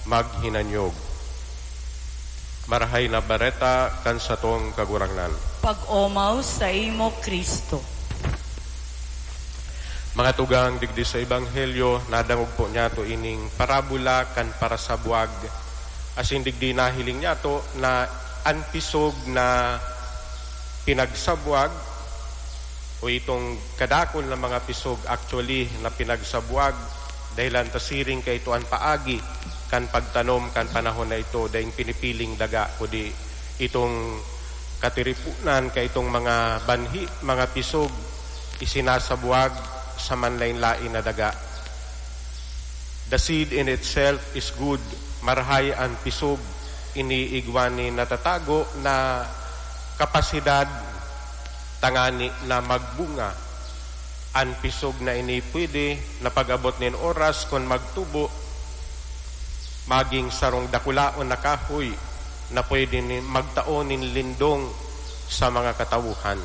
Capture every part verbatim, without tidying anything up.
Maghinanyog. Marahay na Bareta kan satong Kagurangnan. Pag-omaw saimo, Cristo. Mga tugang, digdi sa Ebanghelyo, nadangog po niyato ining parabola kan parasabwag. Asin digdi nahiling niyato na an pisog na pinagsabwag o itong kadakul na mga pisog actually na pinagsabwag, dahelan ta siring kaito an paagi kan pagtanom kan panahon na ito, daing pinipiling daga, kundi itong katiripunan kaitong mga banhi, mga pisog, isinasabwag sa manlain-lain na daga. The seed in itself is good. Marahay an pisog, ini igwa nin natatago na kapasidad tangani na magbunga. An pisog na ini pwede na pag-abot nin oras kun magtubo, maging sarong dakulaon na kahoy na pwede ni magtao nin lindong sa mga katawohan.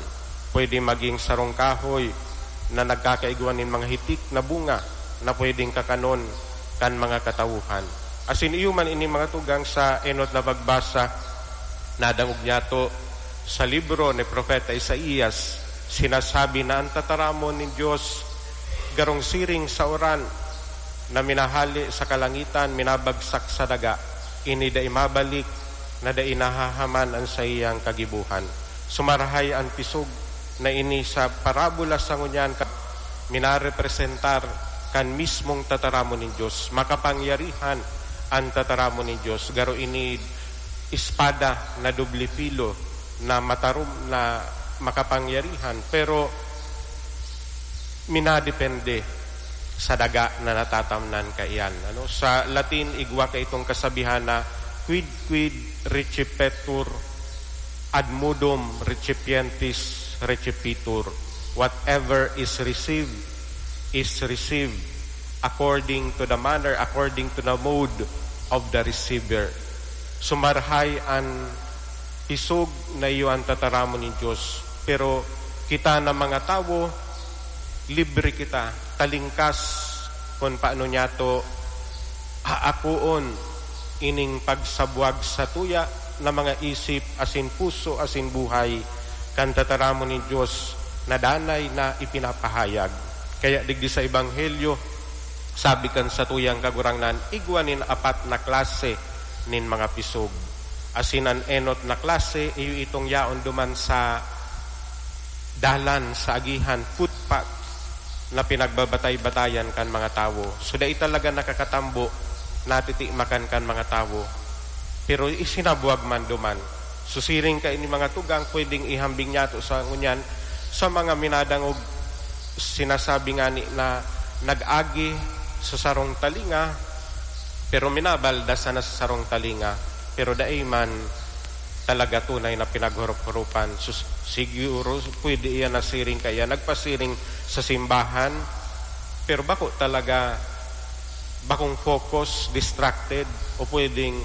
Pwede maging sarong kahoy na nagkakaigwa nin mga hitik na bunga na pwedeng kakanon kan mga katawohan. Asin iyo man ini mga tugang sa enot na pagbasa, nadangog niyato sa libro ni Propeta Isaias, sinasabi na an tataramon nin Dios garong siring sa uran na minahale sa kalangitan, minabagsak sa daga. Ini dai mabalik na dai nahahaman an saiyang kagibohan. Sumarahay an pisog na ini sa parabola sa ngunyan ka minarepresentar kan mismong tataramon nin Dios. Makapangyarihan an tataramon nin Dios. Garo ini espada na doble filo, na matarom, na makapangyarihan, pero minadepende sa daga na natatamnan kaiyan. Ano? Sa Latin, igwa kaitong kasabihan na, "Quid quid recipetur, ad modum recipientis recepitur." Whatever is received, is received according to the manner, according to the mode of the receiver. Sumarahay an pisog na iyo an tataramon nin Dios, pero kita na mga tawo, libre kita, talingkas kun paano niyato haakoon ining pagsabwag sa tuya na mga isip asin puso asin buhay kan tataramon nin Dios na danay na ipinapahayag. Kaya digdi sa Ebanghelyo, sabi kan satuyang Kagurangnan, igwa nin apat na klase nin mga pisog. Asin an enot na klase, iyo itong yaon duman sa dalan, sa agihan, footpath, na pinagbabatay-batayan kan mga tawo. So, dai talaga nakakatambo, natitimakan kan mga tawo. Pero isinabwag man duman. So, siring kaini mga tugang, pwedeng ihambing niyato sa ngunyan, sa mga minadangog, sinasabi ngani na nag-agi sa sarong talinga, pero minabalda sana sa sarong talinga, pero dai man talaga tunay na pinaghurop-hurupan. Sus-, siguro pwede iyan na siring kaya nagpasiring sa simbahan, pero bako talaga, bakong focus, distracted, o pwedeng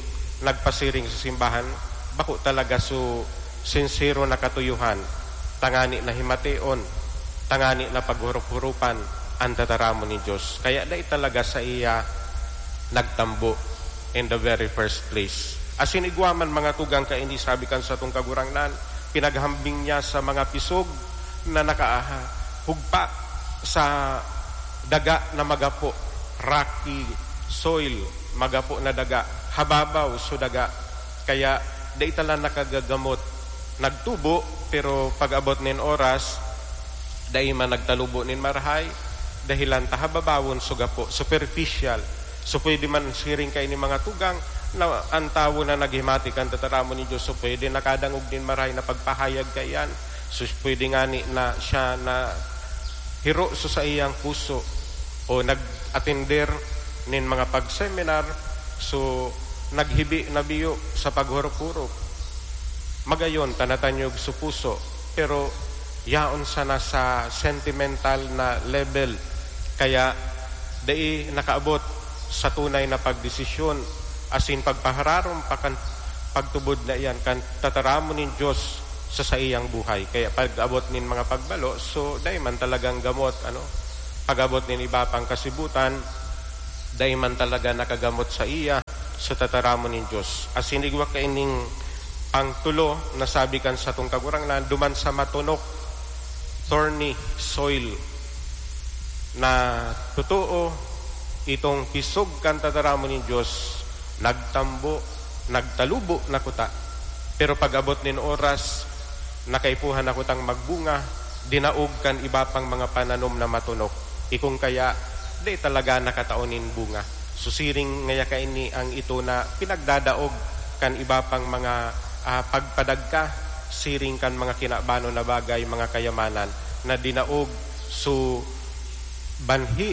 nagpasiring sa simbahan, bako talaga su sinsero na katuyuhan, tangani na himateon, tangani na paghurop-hurupan an tataramon nin Dios. Kaya dai talaga saiya nagtambo in the very first place. Asin igwa man mga tugang kaini, sabi kan satong Kagurangnan, pinaghambing niya sa mga pisog na nakahugpa sa daga na magapo, rocky soil, magapo na daga, hababaw so daga. Kaya dai ta lang nakagagamot. Nagtubo, pero pag-abot nin oras, dai man nagtalubo nin marahay, dahelan ta hababawon so gapo, superficial. So, pwede man siring kaini mga tugang na an tawo na naghimati kan tataramon nin Dios, so pwede nakadangog nin marahay na pagpahayag kaiyan. So, pwede ngani na siya na hiro sa saiyang puso o nag-atender nin mga pag-seminar, so naghibi na biyo sa paghurop-hurop. Magayon ta natanyog sa puso, pero yaon sana sa sentimental na level, kaya dai nakaabot sa tunay na pagdesisyon asin pagpahararom pa kan pagtubod na iyan kan tataramon nin Dios sa saiyang buhay. Kaya pag-abot nin mga pagbalo, so dai man talagang gamot, ano, pag-abot nin iba pang kasibutan, dai man talaga nakagamot saiya. sa tataramon nin Dios. Asin igwa kaining pangtulo na sabi kan satong Kagurangnan, duman sa matunok, thorny soil, na totoo, itong pisog kan tataramon nin Dios, nagtambo, nagtalubo na kuta. Pero pag-abot nin oras, nakaipuhan na kutang magbunga, dinaog kan iba pang mga pananom na matunok. Ikong kaya, di talaga nakatao nin bunga. So, siring ngaya kaini ang ito na pinagdadaog kan iba pang mga, ah, pagpadagka, siring kan mga kinabanon na bagay, mga kayamanan na dinaog. So, banhi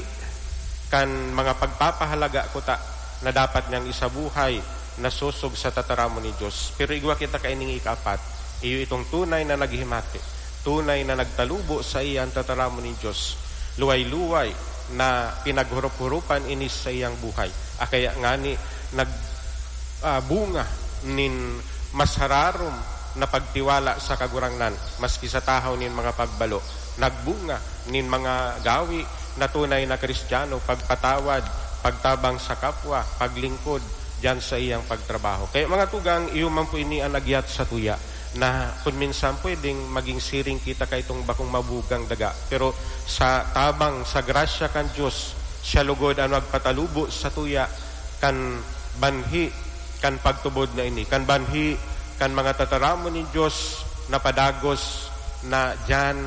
kan mga pagpapahalaga kuta na dapat niyang isabuhay, nasosog sa tataramon ni Dios. Pero igwa kita kaining ikaapat, iyo itong tunay na naghimati, tunay na nagtalubo sa iya an tataramon ni Dios. Luway-luway na pinaghurop-huropan ini sa iyang buhay. Akaya ngani nag, ah, bunga nin mas hararom na pagtiwala sa Kagurangnan, maski sa tahaw nin mga pagbalo. Nagbunga nin mga gawi na tunay na Kristiyano, pagpatawad, pagtabang sa kapwa, paglingkod diyan sa iyang pagtrabaho. Kaya, mga tugang, iyo man po ini an agyat sa tuya, na kun minsan pwedeng maging siring kita kaitong bakong mabugang daga. Pero sa tabang, sa grasya kan Dios, siya lugod an magpatalubo sa tuya kan banhi kan pagtubod na ini, kan banhi kan mga tataramon nin Dios na padagos na diyan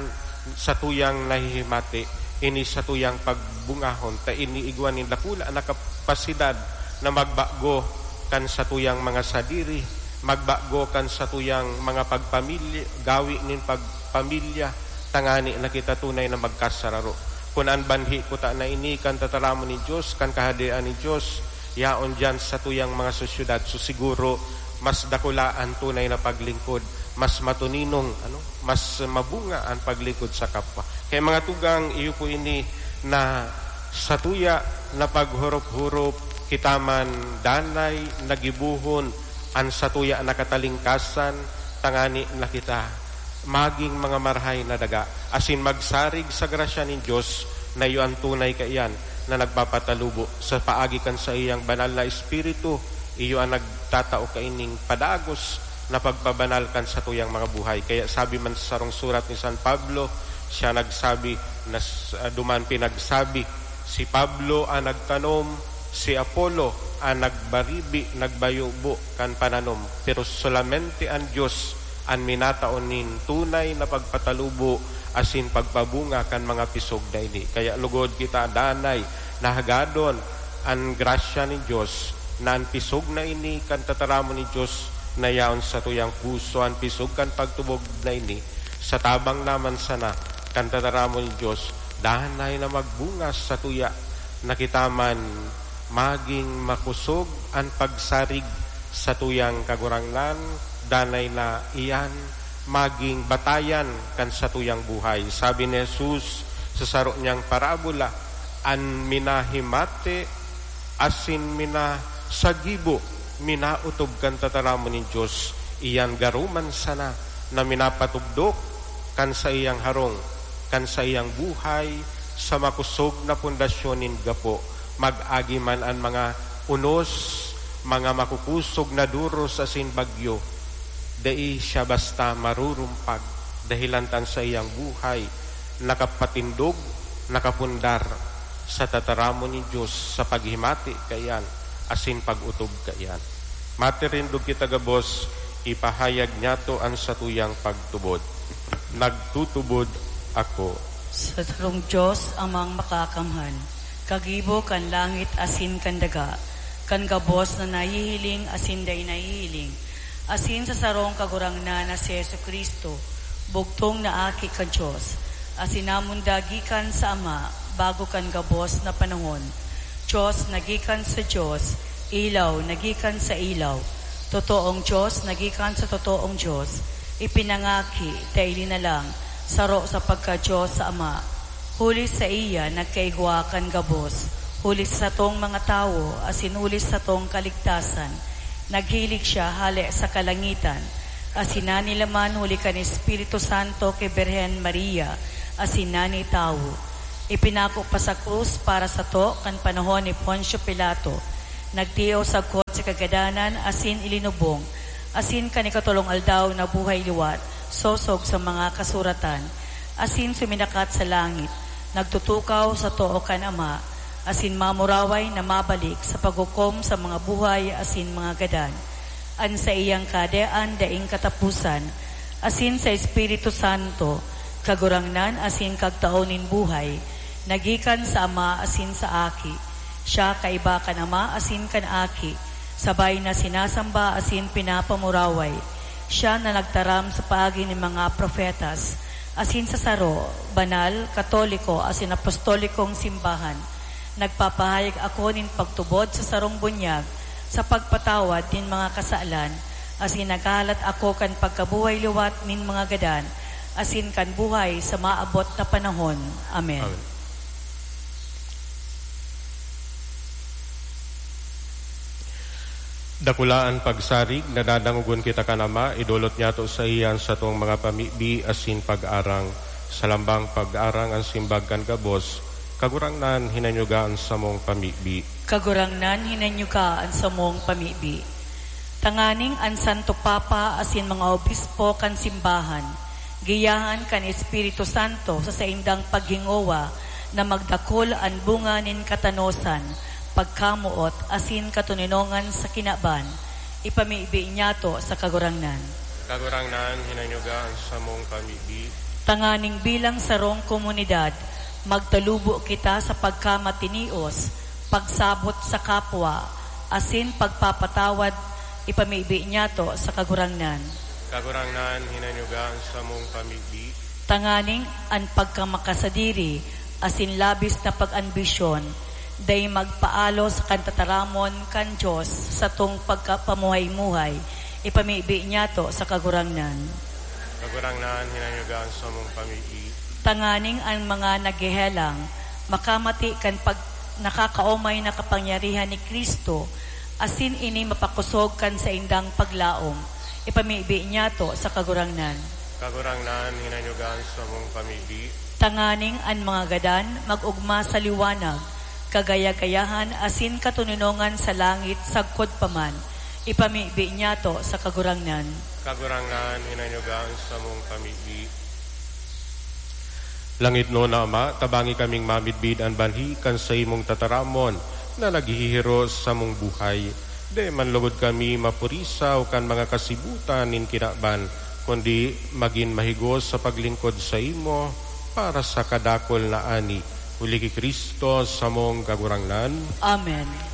sa tuyang nahihimati, ini sa tuyang pagbungahon, ta ini igwa nin dakula na kapasidad na magbago kan sa tuyang mga sadiri, magbago kan sa tuyang mga pagpamilya, gawi nin pagpamilya, tangani na kita tunay na magkasararo. Kun an banhi kuta na ini kan tataramon nin Dios, kan Kahadean nin Dios, yaon diyan sa tuyang mga sosyedad. So, siguro, mas dakula an tunay na paglingkod, mas matuninong, ano, mas mabunga an paglingkod sa kapwa. Kaya, mga tugang, iyo po ini na sa tuya na paghurop-hurop, kita man danay nagibohon an sa tuya na katalingkasan, tangani na kita maging mga marahay na daga, asin magsarig sa grasya nin Dios na iyo an tunay kaiyan na nagpapatalubo sa paagi kan saiyang banal na Espiritu. Iyo an nagtatao kaining padagos na pagpabanal kan satuyang mga buhay. Kaya sabi man sa sarong surat ni San Pablo, siya nagsabi na s-, ah, duman pinagsabi, "Si Pablo an nagtanom, si Apollo an nagbaribi, nagbayubo kan pananom, pero solamente an Dios an minatao nin tunay na pagpatalubo asin pagpabunga kan mga pisog na ini." Kaya lugod kita danay na hagadon an grasya nin Dios, na an pisog na ini kan tataramon nin Dios na yaon sa tuyang puso, an pisog kan pagtubod na ini, sa tabang naman sana kan tataramon nin Dios, danay na magbunga sa tuya na kita man maging makosog an pagsarig sa tuyang Kagurangnan, danay na iyan maging batayan kan satuyang buhay. Sabi ni Jesus sa saro niyang parabola, "An minahimati asin minasagibo, minautob kan tataramon nin Dios, iyan garo man sana na minapatugdok kan saiyang harong, kan saiyang buhay sa makosog na pundasyon nin gapo, mag-agi man an mga unos, mga makukusog na duros asin bagyo, dai siya basta marurumpag, dahelan ta an saiyang buhay nakapatindog, nakapundar sa tataramon nin Dios sa paghimati kaiyan asin pag-otob kaiyan." Matirindog kita gabos, ipahayag niyato an satuyang pagtubod. Nagtutubod ako. Sa sarong Dios, Amang Makakamhan, kagibo kan langit asin kan daga, kan gabos na nahihiling asin dai nahihiling, asin sa sarong Kagurangnan na si Jesu-Cristo, bugtong na Aki kan Dios, asin namundag gikan sa Ama bago kan gabos na panahon. Dios na gikan sa Dios, ilaw na gikan sa ilaw, totoong Dios na gikan sa totoong Dios, ipinangaki, ta ilinalang, saro sa pagka-Dios sa Ama. Huli saiya nagkaigwa kan gabos, huli sa satong mga tawo, asin huli sa satong kaligtasan, naghilig siya hale sa kalangitan, asin nanilaman huli kan Espiritu Santo ki Birhen Maria, asin nani tawo. Ipinako pa sa krus para sato kan panahon ni Poncio Pilato. Nagtios sagkod si kagadanan asin ilinubong, asin kan ikatolong aldaw nabuhay liwat, sosog sa mga kasuratan, asin suminakat sa langit, nagtutukaw sa too kan Ama, asin mamuraway na mabalik sa paghukom sa mga buhay asin mga gadan. An saiyang kahadean daing kataposan, asin sa Espiritu Santo, Kagurangnan asin Kagtao nin buhay, nagikan sa Ama asin sa Aki. Siya kaiba kan Ama asin kan Aki, sabay na sinasamba asin pinapamuraway. Siya na nagtaram sa paagi nin mga propetas, asin sa saro, banal, katoliko asin apostolikong simbahan. Nagpapahayag ako nin pagtubod sa sarong bunyag sa pagpatawad nin mga kasalan, asin naghahalat ako kan pagkabuhay liwat nin mga gadan, asin kan buhay sa maabot na panahon. Amen. Amen. Dakula an pagsarig, nadadangogon kita kan Ama, idolot niyato saiya an satong mga pamibi asin pag-arang. Sa lambang pag-arang an simbag kan gabos, Kagurangnan, hinanyuga an samong pamibi. Kagurangnan, hinanyuga an samong pamibi. Tanganing an Santo Papa asin mga obispo kan simbahan, giyahan kan Espiritu Santo sa saindang paghingowa na magdakul an bunga nin katanosan, pagkamoot, asin katoninongan sa kinaban, ipamibi niyato sa Kagurangnan. Kagurangnan, hinanyuga an samong pamibi. Tanganing bilang sarong komunidad, magtalubo kita sa pagkamatinios, pagsabot sa kapwa, asin pagpapatawad, ipamibi niyato sa Kagurangnan. Kagurangnan, hinanyuga an samong pamibi. Tanganing an pagkamakasadiri asin labis na pag-ambisyon dai magpaalo sa kan tataramon kan Dios satong pagkapamuhay-muhay, ipamibi niyato sa Kagurangnan. Kagurangnan, hinanyuga an samong pamibi. Tanganing an mga naghehelang makamati kan pag-, nakakaomay na kapangyarihan ni Cristo, asin ini mapakosog kan saindang paglaom, ipamibi niyato sa Kagurangnan. Kagurangnan, hinanyuga an samong pamibi. Tanganing an mga gadan mag-ogma sa liwanag, kagaya-gayahan asin katoninongan sa langit sagkod pa man, ipamibi niyato sa Kagurangnan. Kagurangnan, hinanyuga an samong pamibi. Langitnon na Ama, tabangi kaming mamidbid an banhi kan saimong tataramon na naghihiros samong buhay. Dai man logod kami mapurisaw kan mga kasibutan nin kinaban, kundi magin mahigos sa paglingkod saimo para sa kadakul na ani. Huli ki Cristo, samong Kagurangnan. Amen.